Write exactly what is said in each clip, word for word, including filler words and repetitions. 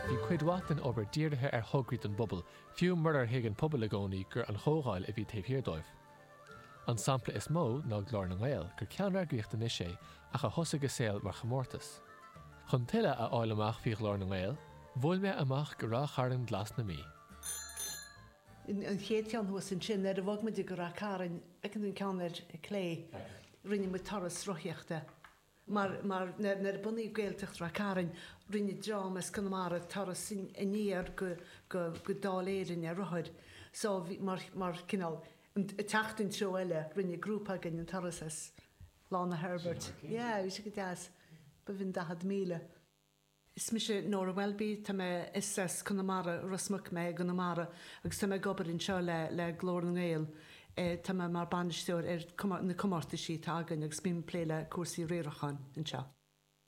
Bhí cuid mhaith den obair dírithe ar thograí don bpobal, fiú murar thuig an pobal i gcónaí gur an Chomhdháil a bhí taobh thiar dóibh. An sampla is mó ná Glór na nGael, gur ceanneagraíocht anois é ach a thosaigh a saol mar chomórtas. Chun tuilleadh a fháil amach faoi Ghlór na nGael, bhuail mé amach go Ráth Chairn Glas na Mí. An chéad cheann thuas ansin, nuair a bhog muid go Ráth Cairn, feiceann tú an ceann ar clé, rinne muid turas rothaíochta. Mar mar nuair a bunaíodh Gaeltacht Ráth Cairn, rinne dream as Conamara turas aniar go go go Dáil Éireann ar rothair. So bhí mar mar cineál ag teacht an treo eile, rinne grúpa againn an turas as Lána Herbert. Yeah, bhí sé go deas. B'in daichead míle. Is mise Nora Welby, tá mé is as Conamara, Ros Muc mé i gConamara agus tá mé ag obair anseo le le Glór na nGael. Tá mé mar bainisteoir ar na comórtaisí atá againn agus bím ag plé le cúrsaí riaracháin anseo.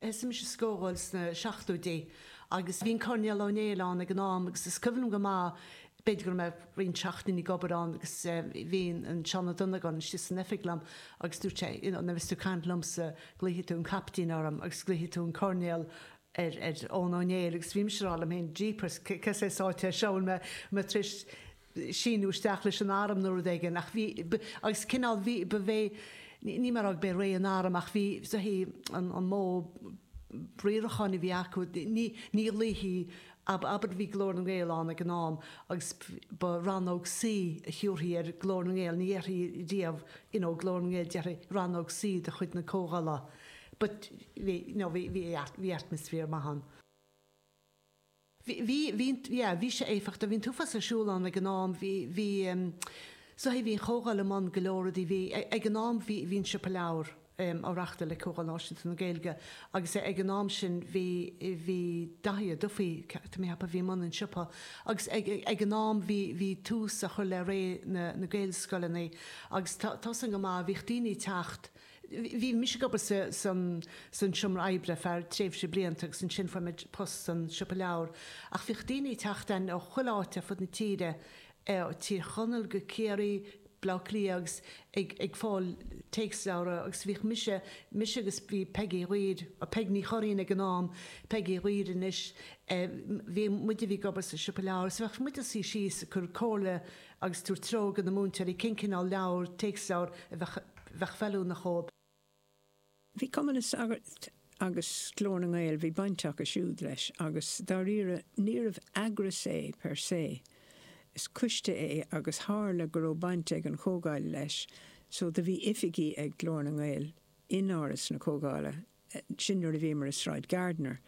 Thosaigh mise sa gComhdháil sna seachtóidí agus bhí an Coirnéal Ó Néill ann ag an am agus is cuimhin liom go maith, b'fhéidir go raibh mé roinnt seachtainí ag obair ann agus bhí an Seán Ó Donnagáin istigh san oifig liom agus dúirt sé, you know, nuair a bheas tú ag caint liomsa, glaofaidh tú an Caiptín orm agus glaofaidh tú an Coirnéal ar ar Eoin Ó Néill agus bhí mise ag rá liom féin, jeepers, cé saghas áit é seo, bhfuil mé mé tar éis síniú isteach leis an arm nó rud éigin ach bhí, agus cineál bhí, ba bhé, ní mar b'é ré an airm ach bhí, is dóichí, an an modh riaracháin a bhí acu, ní ní ghlaofaí, abair bhí Glór na nGael ann ag an am agus ba Rannóg C a thiúrfaí ar Glór na nGael, ní dhéarfaí riamh you know Glór na nGael, déarfaí Rannóg C de chuid na Comhdhála. But bhí, you know, bhí, bhí, bhí atmaisféar maith ann. Bhí, bhí, bhí, yeah, bhí sé éifeachtach. Bhí an t-uafás ar siúl ann ag an am. Bhí, bhí, so bhí an Chomhdháil i mbun go leor rudaí. Bhí, ag an am bhí, bhí an Siopa Leabhar á reáchtáil ag Comhdháil Náisiúnta na Gaeilge agus ag an am sin bhí, bhí Daithí Ó Dufaigh, tá mé a cheapadh, a bhí i mbun an tsiopa agus ag, ag an am bhí, bhí tús á chur le ré na, na Gaelscoileanna agus tá, tá san go maith, bhíodh daoine ag teacht, Bhí mise ag obair san seomra oibre ar feadh tréimhse blianta agus ansin fuair mé post san siopa leabhar. Ach bhíodh daoine ag teacht ann ó chuile áit ar fud na tíre, ó Tír Chonaill go Ciarraí, Baile Átha Cliath agus ag ag fáil téacsleabhra agus bhíodh mise, mise agus bhí Peigí Ghuaire, Peig Ní Churraoin ag an am, Peigí Ghuaire anois, bhí muide a bhí ag obair sa siopa leabhar so bheadh muid ag suí síos ag cur comhairle agus tabhairt treo do na múinteoirí cén cineál leabhar, téacsleabhar a bheadh bheadh feiliúnach dhóibh. Bhí Cumann na Sagart agus Glór na nGael, bhí baint acu siúd leis agus dáiríre níorbh eagras é per se, is coiste é agus tharla go raibh baint ag an Chomhdháil leis so do bhí oifigí ag Glór na nGael in Áras na Comhdhála, sin nuair a bhíomar i Sráid Gardiner.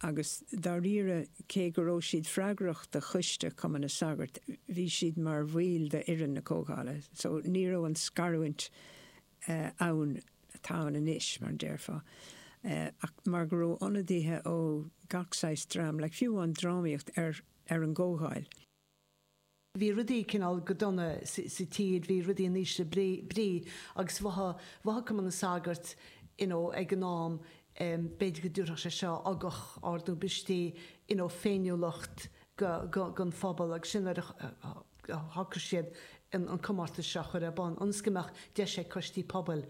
Agus dáiríre cé go raibh siad freagrach do choiste Chumann na Sagart, bhí siad mar bhaill d'fhoireann na Comhdhála so ní raibh an scarúint ann atá ann anois, mar a déarfá. Ach mar go raibh ionadaithe ó gach saghas dream, like fiú an drámaíocht ar ar an gComhdháil. Bhí rudaí cineál go dona sa tír, bhí rudaí in ísle brí agus mhothaigh, mhothaigh Cumann na Sagart you know ag an am b'fhéidir go dtabharfadh sé seo ugach ard nó b'fhéidir you know féiniúlacht go, go, don phobal agus sin nuair a shocraigh siad an comórtas seo a chur ar bun ionas go mbeadh deis ag coistí pobail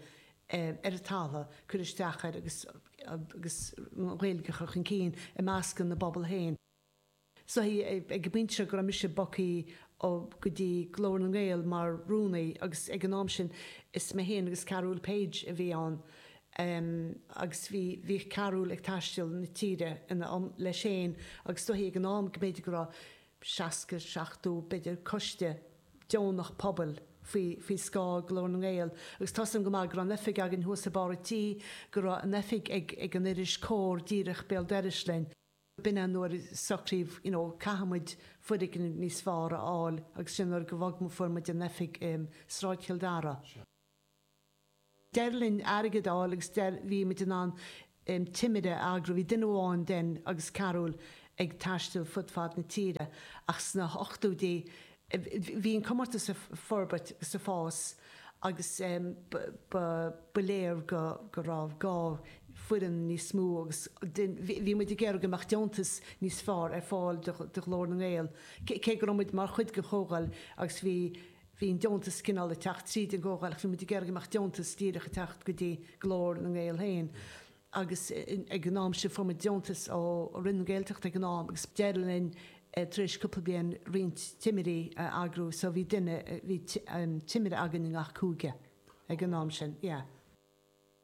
ar an talamh cur isteach air agus, agus an Ghaeilge a chur chun cinn i measc na bpobal féin. So ag an bpointe seo go raibh mise bogtha ó go dtí Glór na nGael mar rúnaí agus ag an am sin is mé féin agus Carúl Page a bhí ann agus bhí bhíodh Carúl ag taisteal na tíre ina leis féin agus is dóichí ag an am go mb'fhéidir go raibh seasca, seachtó b'fhéidir coiste deonach pobail faoi faoi scáth Glór na nGael agus tá 's agam go maith go raibh an oifig againn thuas i barr an tí, go raibh an oifig ag ag an iris Comhar díreach béal dorais linn. B'in é nuair a socraíodh you know caithfidh muid foirgneamh níos fearr a fháil agus sin nuair go bhog fuair muid an oifig i Sráid Chill Dara. D'éirigh linn airgead a fháil agus bhí muid in ann timire a eagrú. Bhí duine amháin den agus Carúl ag taisteal fud fad na tíre ach sna hochtóidí bhí an comórtas ag forbairt agus ag fás agus ba léir go raibh gá foireann níos mó agus bhí muid ag iarraidh go mbeadh deontas níos fearr ar fáil do Ghlór na nGael, cé go raibh muid mar chuid den Chomhdháil agus bhí bhí an deontas cineál ag teacht tríd an gComhdháil ach bhí muid ag iarraidh go mbeadh deontas díreach ag teacht go dtí Glór na nGael féin. Agus ag an am sin fuair muid deontas ó Roinn na Gaeltachta ag an am agus d'éirigh linn tar éis cúpla bliain roinnt timirí a eagrú so bhí duine, bhí timire againn i ngach cúige ag an am sin, yeah.